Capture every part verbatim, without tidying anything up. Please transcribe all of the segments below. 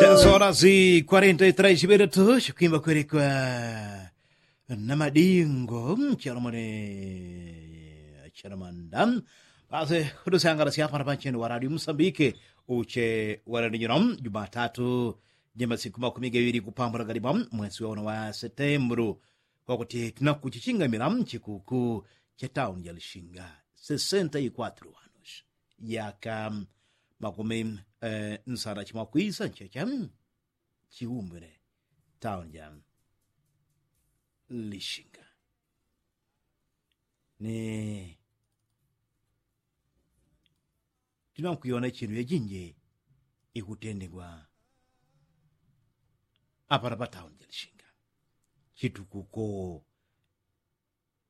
Dasola zi kwarenta i tres chiberetu chikwimba kwerekwa na madingo, chalomone chalamanda. Pase kudusangalasya apana pancheni wa radio musambike uche wa radio nyino jumatatu, jemasiku makumi gawili kupambula galima mwesi wa uno wa setembulu, kwakuti tunakuchichingamila mchikuku cha tauni ja lishinga sesenta i kwatru wanushi, yaka makumi nsana chimwakwisa nchecha chiumbile tauni ja lishinga. Ni tinankuiona chinu yajinji ikutendegwa apana pa tauni ja lishinga. Chitukuko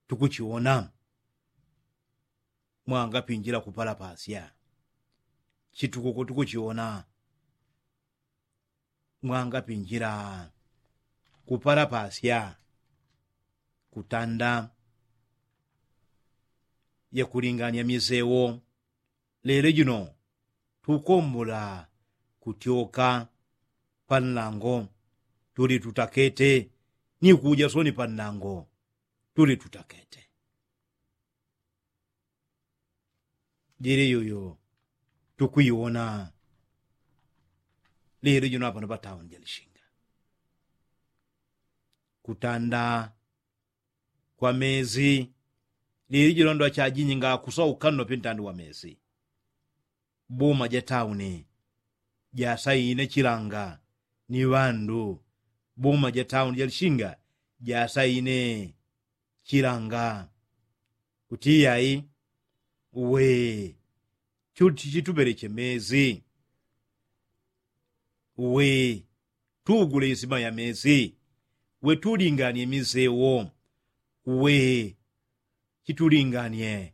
tukuchiona mwangapinjila kupalapasya. Chitukuko tukuchiona mwangapinjila kupalapasya kutanda yakulingania misewo. Lelo jino tukombola kutyoka pa nlango tuli tutakete, ni kuja soni pa nlango tuli tutakete. Jili yuyu tukwiwona lili jino apano pa tauni ja lishinga kutanda kwa mezi. Lili jino ndo achajinji ngakusauka nno pintandi wa mezi. Boma ja tauni jasaine chilanga ni ŵandu. Boma ja tauni ja lishinga jasaine chilanga kuti iyai, we chitupeleche mezi, we tugule isima ya mezi, we tulinganie misewo, we chitulinganie